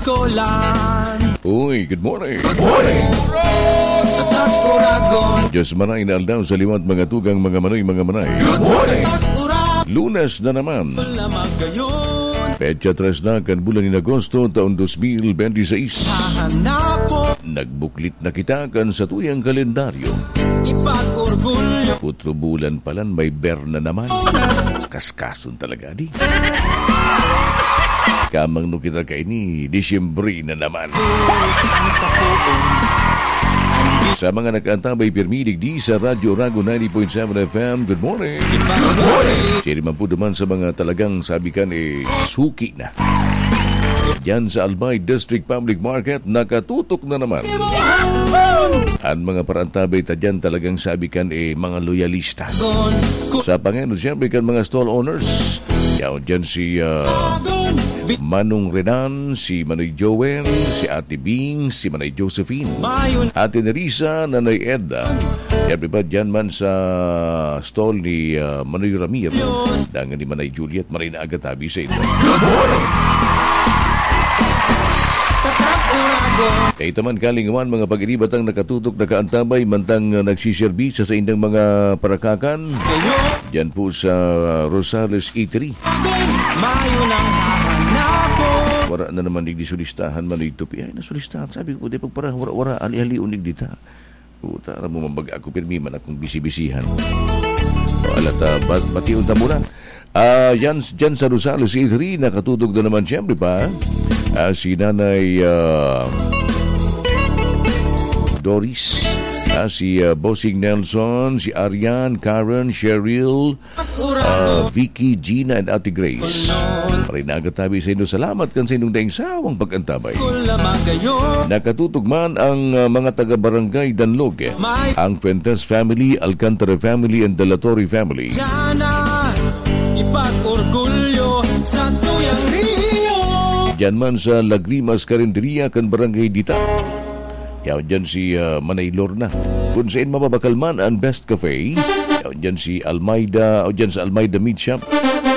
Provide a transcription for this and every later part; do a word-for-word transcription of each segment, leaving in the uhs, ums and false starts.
Tolan. Uy, good morning. Good morning. Tatak Uragon. Diyos manay na aldaw sa liwat, mga tugang, mga manoy, mga manay. Good morning. Tatak Uragon. Lunes na naman. Wala magayon. Petsa tres na kan bulan nin Agosto, taon dos mil bente seis. Hahanapon. Nagbuklit na kita kan satuyang kalendaryo. Ipag-orgulyo. Putro bulan palan, may ber na naman. Kaskason talaga, di? Kamang no kita kaini, Disyembre na naman. Sa mga nakaantabay pirmi digdi sa Radyo Rago ninety point seven F M, good morning. Good morning. Siya naman po duman sa mga talagang sabi kan, eh, suki na. Diyan sa Albay District Public Market, nakatutok na naman. Ang mga parantabay ta diyan talagang sabi kan, eh, mga loyalista. Sa pangenod, siyempre, kan mga stall owners. Yaon diyan si, ah, Manong Renan, si Manoy Joel, si Ate Bing, si Manoy Josephine, Ate Nerissa, Nanay Edna. Siyempre pa diyan man sa stall ni, ah, Manoy Ramir. Dangan ni Manay Juliet, maray na aga tabi sa inyo. Tatak Uragon. Ito man kalingawan, mga pag-iribatang nakatutok, nakaantabay, mantang, ah, nagsiserbi sa saindang mga parakakan. Kayo. Diyan po sa Rosales Eatery. Mayo nang hahanapon. Wara na naman digdi sulistahan, Manoy Tupi. Ay, nasulistahan. Sabi ko, di pagpara, wara, wara, ali-alion digdi ta. Puta, aram mo, mambaga ako, pirmi man akong bisi-bisihan. Wala ta, ba-, bation ta muna. Ah, yan, dyan sa Rosales Eatery, nakatutok na naman, siyempre pa, ah, si Nanay, ah, Doris, ah, si, ah, Bossing Nelson, si Arian, Karen, Cheryl, ah, Vicky, Gina, and Ate Grace. Maray na aga tabi sa inyo. Salamat kan sa inyong daing sawang pag-antabay. Nakatutok man ang, ah, mga taga-barangay Danlog, ang Fuentes family, Alcantara family, and Delatorre family. Diyan na ipag-orgulyo sa tuyang Rio. Diyan man sa Lagrimas Carinderia kan Barangay Dita. Yaon dyan si, ah, Manay Lorna. Kun sain mababakal man ang Best Cafe, yaon dyan si Almeida, o dyan sa Almeida Meat Shop.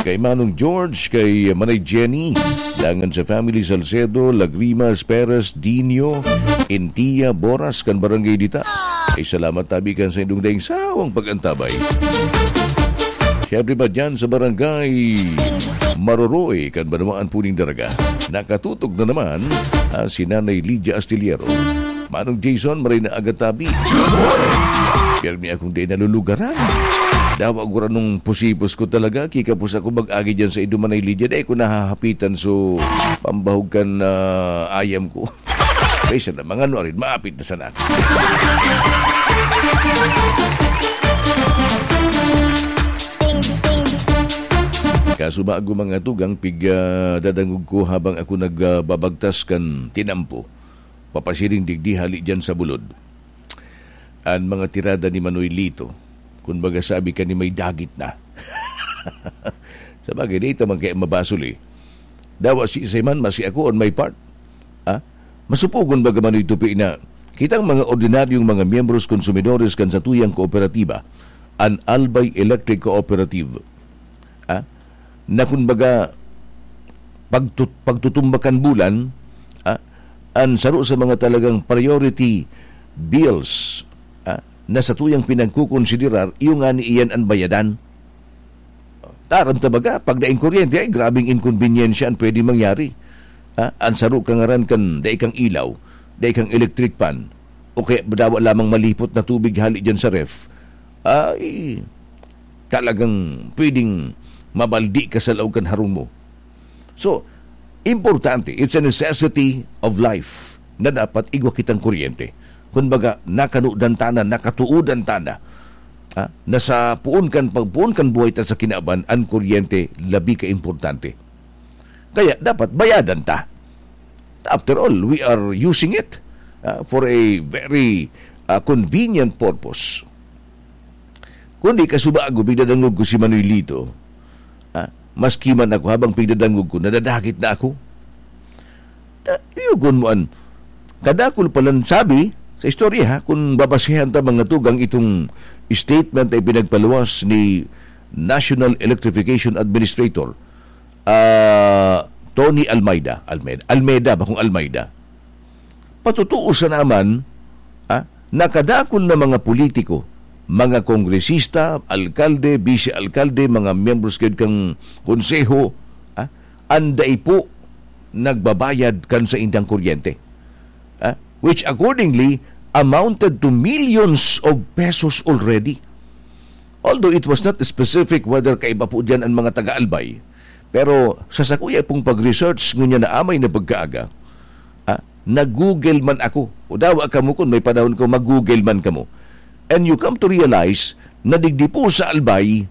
Kay Manong George, kay Manay Jenny, dangan sa family Salcedo, Lagrimas, Perez, Dino, Intia, Boras, kan Barangay Dita. Ay, salamat tabi kan sa indong daing sawang pag-antabay. Siyempre pa dyan sa Barangay Maroroy, kan Banwaan Puning Daraga. Nakatutok na naman, ah, si Nanay Lydia Astillero. Manong Jason, maray na aga tabi. Pirmi akong di nalulugaran. Dawa gura nung pusipos ko talaga, kikapos ako mag-agi dyan sa iduman ay Lydia, dai ko nahahapitan, so pambahog kan, ah, ayam ko. Kaysa na, mga ano, arin, maapit na sana. Kaso bago mga tugang, pig, ah, dadangog ko habang ako nagbabagtas kan tinampo. Papasiring digdi hali dyan sa bulod. An mga tirada ni Manoy Lito, kun baga sabi ka ni may dagit na. Sa bagay, di ito man kaya mabasol eh. Dawa si Isay man, masi ako on my part. Ah? Masupogon baga Manoy Tupi na kitang mga ordinaryong mga miyembros konsumidores kan satuyang kooperatiba, an Albay Electric Cooperative. Ah? Na kun baga, pagtut-, pagtutumbakan bulan, ah, an saro sa mga talagang priority bills, ah, na satuyang pinagkukonsiderar, iyo ngani iyan an bayadan. Taram ta baga, pag daing kuryente, ay grabing inkonbinyensya an pwede mangyari. Ah, an saro ka ngaran kan dai kang ilaw, dai kang electric fan, o kaya dawa lamang malipot na tubig hali dyan sa ref, ay talagang pwedeng mabaldi ka sa laog kan harong mo. So, importante, it's a necessity of life na dapat igwa kitang kuryente. Kumbaga, nakanodan ta na, nakatuodan ta na, ah, na sa poon kan pagpoon kan buhay ta sa kinaban, an kuryente labi ka importante. Kaya dapat bayadan ta. After all, we are using it, ah, for a very, ah, convenient purpose. Kundi kasubago, pigdadangog ko si Manoy Lito. Ah, maski man ako, habang pigdadangog ko, nadadagit na ako. Ta-, yugon mo an kadakul palan sabi sa istorya, ha, kung babasehan ta mga tugang itong statement na ipinagpaluwas ni National Electrification Administrator, ah, Tony Almeida, Almeida, Almeida, bakong Almeida. Patotoo sa naman, ah, nakadakol na mga politiko, mga kongresista, alkalde, bise-alkalde, mga miyembros gayud kan konseho, ah, an dai po nagbabayad kan saindang kuryente. Ah, which accordingly amounted to millions of pesos already. Although it was not specific whether kaiba po diyan an mga taga-Albay, pero sa sakuya pong pag-research ngunyan na amay na pagkaaga, ah, nag-Google man ako. O dawa kamo kun may panahon ko, mag-Google man kamo. And you come to realize na digdi po sa Albay,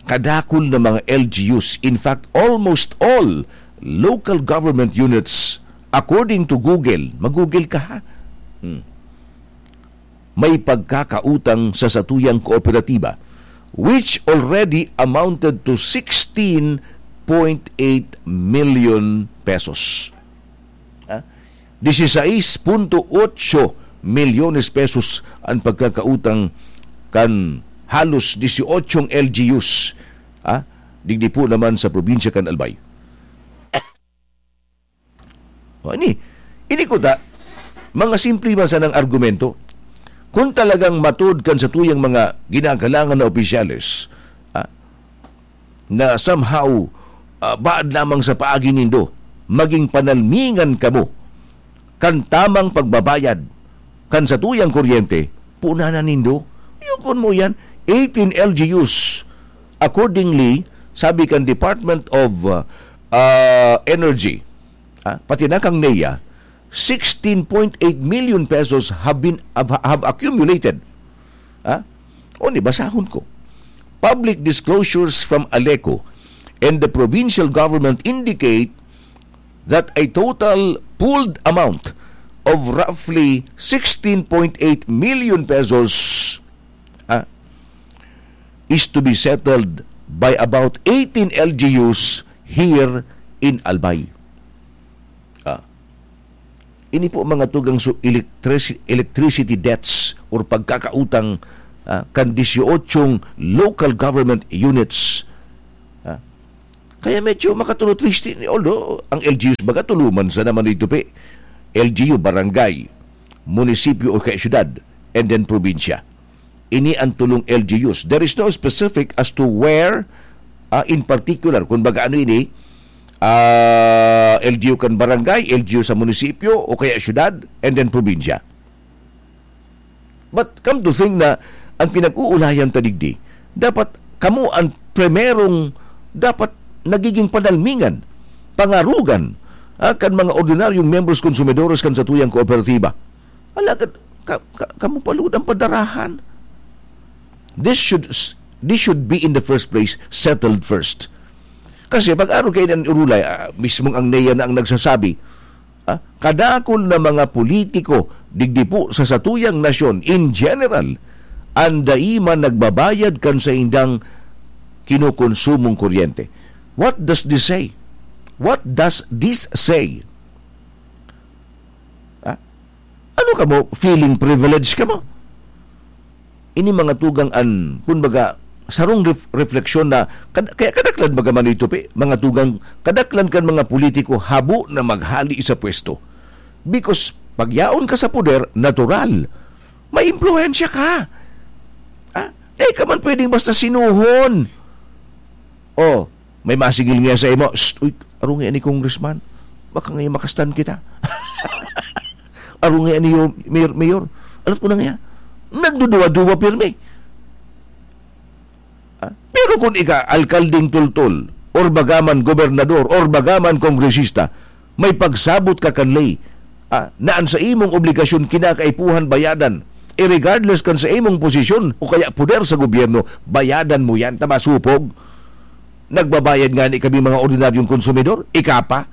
kadakol na mga L G Us. In fact, almost all local government units, according to Google, mag-Google ka ha. Hmm. May pagkakautang sa satuyang kooperatiba, which already amounted to sixteen point eight million pesos. Ah, dieciséis punto ocho milyones pesos an pagkakautang kan halos dieciocho L G Us, ah, digdi po naman sa probinsya kan Albay. O, ini, ini kuta, mga simple man sanang argumento. Kung talagang matod kan satuyang mga ginagalangan na opisyales, ah, na somehow, ah, baad lamang sa paagi nindo, maging panalmingan kamo kan tamang pagbabayad kan satuyang kuryente, punanan nindo. Yukon mo yan, eighteen L G Us. Accordingly, sabi kan Department of, ah, ah, Energy, ah, pati na kang NEA, sixteen point eight million pesos have been, have, have accumulated. Ah? O, ni, basahon ko. Public disclosures from ALECO and the provincial government indicate that a total pooled amount of roughly sixteen point eight million pesos, ah, is to be settled by about eighteen L G Us here in Albay. Ah, ini po mga tugang su-, electrici-, electricity debts or pagkakautang, ah, kan dieciocho local government units. Ah, kaya medyo makatulo twist ni, although ang L G Us baga tulo man sa naman ito pe. L G U, barangay, munisipyo o kaya syudad, and then probinsya. Ini ang tulong L G Us. There is no specific as to where, ah, in particular. Kung baga ano ini, ah, L G U kan barangay, L G U sa munisipyo, o kaya syudad, and then probinsya. But come to think na ang pinag-uulayan ta digdi, dapat kamo ang primerong dapat nagiging panalmingan, pangarugan, ah, kan mga ordinaryong miyembros konsumidores kan satuyang kooperatiba. Alagad, ka, ka, kamo pa lugod ang padarahan. This should s-, this should be in the first place settled first. Kasi pag-arog kayo ng urulay, ah, mismong ang NEA na ang nagsasabi, ah, kadakol na mga politiko, digdi po sa satuyang nasyon, in general, ang dai man nagbabayad kan saindang kinukonsumong kuryente. What does this say? What does this say? Ah, ano kamo? Feeling privilege kamo? Ini mga tugang an, kumbaga, sarong ref-, refleksyon na, kad-, kaya kadaklan baga man ito, pe, mga tugang, kadaklan kan mga politiko habo na maghali sa pwesto. Because, pag yaon ka sa poder, natural, may impluwensya ka. Ah, di ka man pwedeng basta sinuhon. Oh, may masigil niya sa imo, "Shh, uy, arong ni congressman, baka ngayon makastan kita." "Arong ni mayor, mayor, alat ko na nga." Nagduduwa-duwa pirmi. Ah, pero kung ika, alkaldeng tultol, or bagaman gobernador, or bagaman kongresista, may pagsabot ka kan ley, ah, na an sa imong obligasyon kinakaipuhan bayadan, eh, regardless kan sa imong posisyon o kaya poder sa gobyerno, bayadan mo yan, ta masupog. Nagbabayad nga ni kami mga ordinaryong konsumidor, ika pa.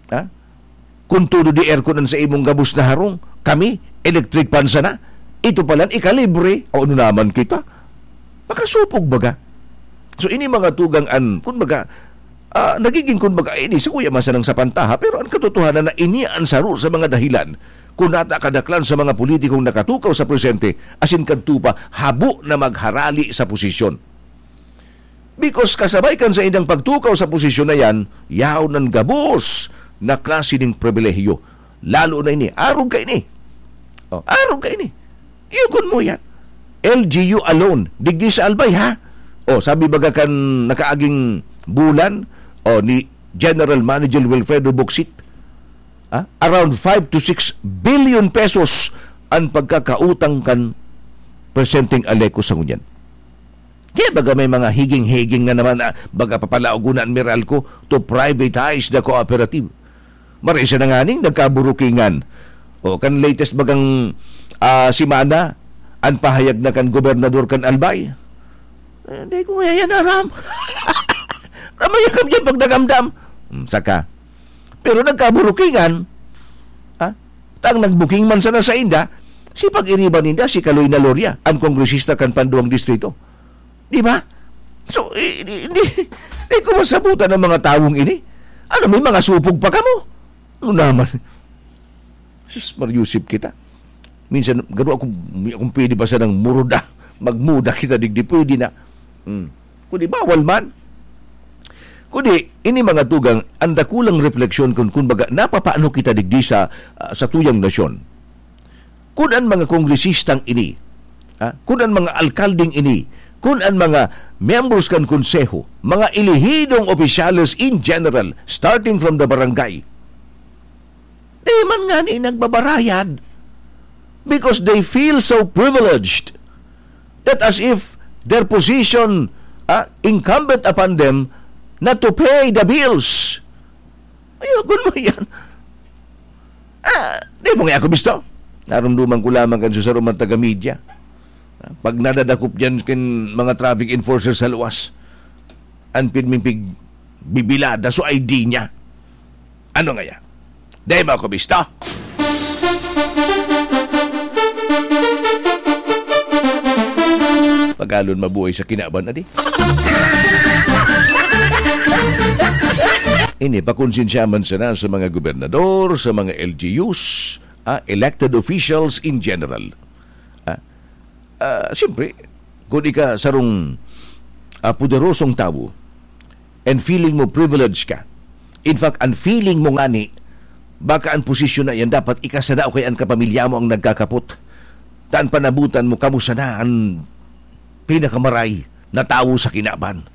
Ha? Kung todo di aircon ang sa imong gabos na harong, kami, electric fan sana. Ito palan, ikalibre. O ano naman kita? Makasupog baga. So, ini mga tugang an, kun baga, ah, nagiging kun baga, ini, sa kuya masanang sa pantaha, pero ang katotohanan na ini ang saro sa mga dahilan kung nata kadaklan sa mga politikong nakatukaw sa presente, asin kadto pa, habo na magharali sa posisyon. Because kasabay kan saindang pagtukaw sa posisyon na yan, yaon an gabos na klase ning pribilehiyo. Lalo na ini, arog kaini. Oh, arog kaini. Yugon mo yan. L G U alone, digdi sa Albay, ha? Oh, sabi baga kan nakaaging bulan, oh, ni General Manager Wilfredo Bocsit, ah, around five to six billion pesos an pagkakautang kan presenteng Aleco sa ngunyan. Kaya baga may mga higing-higing na naman, ah, baga papalaog na an Meralco to privatize the cooperative. Marisa na nganing nagkaburukingan. O, kan latest bagang, ah, simana, an pahayag na kan gobernador kan Albay. Eh, di ko kaya yan aram. Ramay ang yan pag nagamdam. Hmm, saka. Pero nagkaburukingan, ha? Tang nagbuking man sana sa inda, si pag-iriba ninda, si Kaloy na Loria, ang kongresista kan panduang distrito. Di ba? So, eh, di, di, di ko masabutan ang mga tawong ini. Ano, may mga supog pa kamo? Ano naman? Sus, mariusip kita. Minsan, garo ako, kung pwede ba sanang muruda, magmuda kita digdi, pwede na. Hmm. Kundi bawal man. Kundi, ini mga tugang, ang dakulang refleksyon kun, kun baga, napapaano kita digdi sa, ah, sa tuyang nasyon. Kun an mga kongresistang ini, ha? Kun an mga alkaldeng ini, kun an mga miyembros kan konseho, mga elehidong opisyales in general, starting from the barangay, di man ngani nagbabarayad because they feel so privileged that as if their position, ah, incumbent upon them na to pay the bills. Ayokon mo yan. Ah, di mo nga ako bisto. Narumduman ko lamang kan sa sarong mga taga-media. Ah, pag nadadakop dyan kin mga traffic enforcer sa luwas, an pirming pig-, bibilada so I D niya. Ano nga yan? Di mo ako bisto? Pagalon mabuhay sa kinaban, adi. Ini, pakonsensya man sana sa mga gobernador, sa mga L G Us, ah, elected officials in general. Ah, ah, siyempre, kung ika sarong, ah, poderosong tawo, and feeling mo privileged ka, in fact, ang feeling mo ngani, baka ang posisyon na yan dapat ika sana o kaya ang kapamilya mo ang nagkakapot. Taan panabutan mo, kamo sana ang pinakamaray na tawo sa kinaban.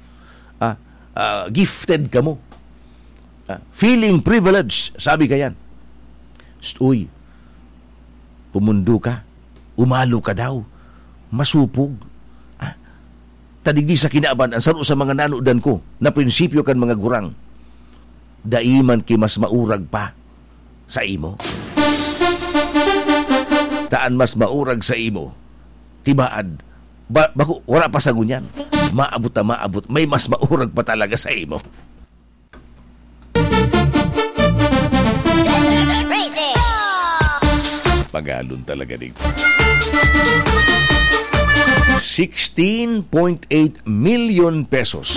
Ah, ah, gifted kamo. Ah, feeling privileged, sabi ka yan. Psst, uy, pumundo ka, umalo ka daw, masupog. Ah, ta digdi sa kinaban, ang saro sa mga nanodan ko na prinsipyo kan mga gurang, dai man ki mas maurag pa sa imo. Taan mas maurag sa imo. Tibaad, ba, bako, wala pa sa ngunyan. Maabot na maabot, may mas maurag pa talaga sa imo. Pagalon talaga dito. Sixteen point eight million pesos.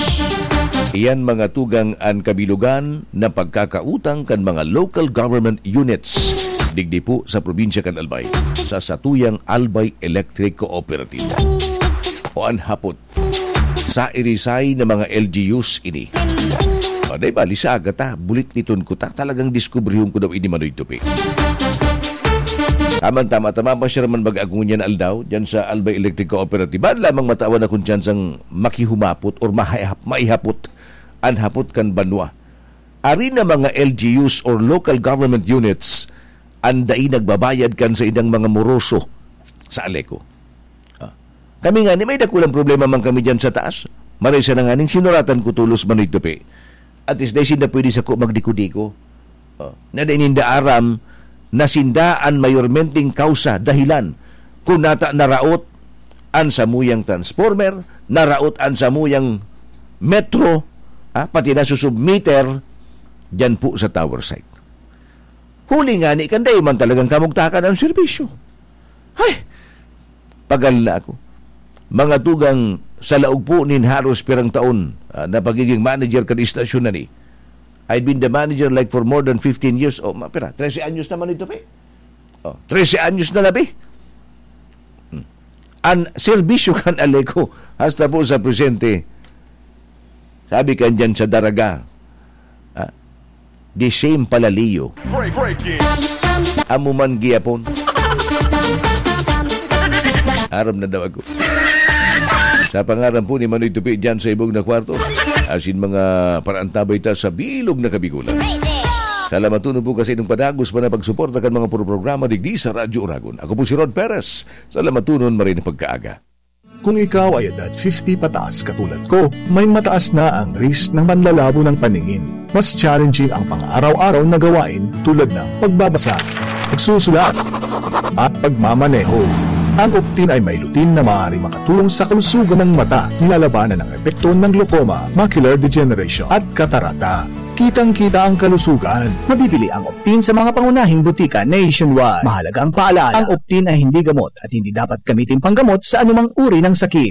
Iyan mga tugang an kabilugan na pagkakautang kan mga local government units digdi po sa probinsya kan Albay, sa satuyang Albay Electric Cooperative. O an hapot, sa irisay na mga L G Us ini. O, di bali, sa aga ta, bulit liton ko ta, talagang diskubrihon ko daw ini, Manoy Tupi. Tama, tama, tama pa siya naman mag-agungan yan aldaw, dyan sa Albay Electric Cooperative. Lamang matawan na kung tsansang makihumapot or mahayap-, maihapot an hapot kan banwa. Ari na mga L G Us or local government units, ang dai nagbabayad kan sa idang mga moroso sa Aleco. Ah. Kami ngani, may dakulang problema man kami diyan sa taas. Maray siya na nganing sinuratan ko tolos, Manoy Tupi. At least, dai sinda pwede sako magdiko-diko. Oh, na dai ninda aram na sinda an mayormenteng kausa, dahilan, kung nata naraot an samuyang transformer, naraot an samuyang metro, ah, pati na susub meter, dyan po sa tower site. Huli ngani kan dai man talagang kamugtakan ang serbisyo. Hay! Pagal na ako. Mga tugang, sa laog po nin haros pirang taon, ah, na pagiging manager kan istasyon na ni, I've been the manager, like, for more than fifteen years. O, ma-, pira? Trese anyos naman ito, pe. O, trese anyos na labi. Hmm. An serbisyo kan Aleco, hasta po sa presente, Sabi kan dyan sa Daraga, ah, the same palaliyo. Amo man gihapon. Aram na daw ako. Sa pangaran po ni Manoy Tupi dyan sa ibong na kwarto, asin mga paraantabay ta sa bilog na Kabikulan. Salamaton po kasi nung padagos pa na pagsuporta kan mga programa digdi sa Radyo Oragon. Ako po si Rod Perez. Salamatonon, maray na pagkaaga. Kung ikaw ay edad fifty pataas katulad ko, may mataas na ang risk ng panlalabo ng paningin. Mas challenging ang pang-araw-araw na gawain tulad ng pagbabasa, pagsusulat, at pagmamaneho. Ang Optin ay may lutein na maaaring makatulong sa kalusugan ng mata, nilalabanan ang epekto ng glaucoma, macular degeneration, at katarata. Kitang-kita ang kalusugan. Mabibili ang Optin sa mga pangunahing butika nationwide. Mahalaga ang paalala, ang Optin ay hindi gamot at hindi dapat gamitin panggamot sa anumang uri ng sakit.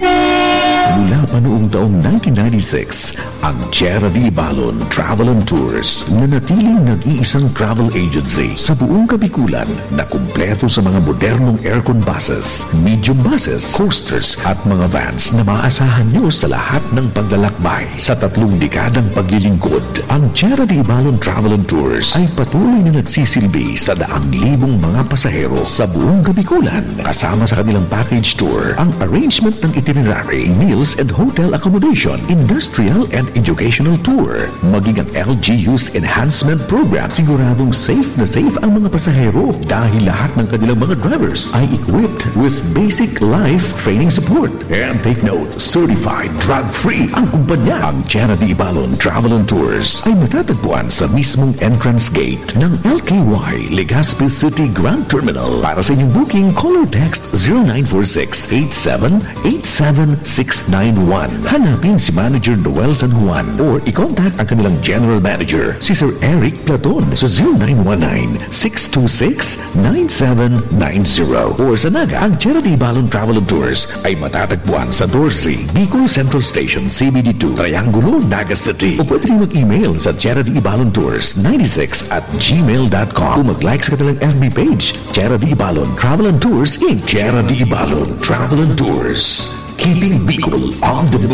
Mula pa noong taong nineteen ninety-six, ang Tierra de Ibalon Travel and Tours nanatiling nag-iisang travel agency sa buong Kabikulan na kumpleto sa mga modernong aircon buses, medium buses, coasters at mga vans na maaasahan nyo sa lahat ng paglalakbay. Sa tatlong dekadang paglilingkod, ang Tierra de Ibalon Travel and Tours ay patuloy na nagsisilbi sa daang libong mga pasahero sa buong Kabikulan, kasama sa kanilang package tour, ang arrangement ng itinerary, meals and hotel accommodation, industrial and educational tour, maging ang L G U's enhancement program. Siguradong safe na safe ang mga pasahero dahil lahat ng kanilang mga drivers ay equipped with basic life training support. And take note, certified drug-free ang kumpanya. Ang Tierra de Ibalon Travel and Tours ay matatagpuan sa mismong entrance gate ng L K Y Legazpi City Grand Terminal. Para sa inyong booking, call or text zero nine four six eight seven eight seven six nine one. Hanapin si Manager Noel San Juan or i-contact ang kanilang General Manager, si Sir Eric Platon, sa zero nine one nine six two six nine seven nine zero. Or sa Naga, ang Tierra de Ibalon Travel and Tours ay matatagpuan sa doce, Bicol Central Station, C B D two, Triangulo, Naga City. O pwede rin mag-email sa Tierra de Ibalon Tours ninety-six at gmail dot com o mag-like sa kanilang F B page, Tierra de Ibalon Travel and Tours, Inc. Tierra de Ibalon Travel and Tours. Keeping Bicol on the move.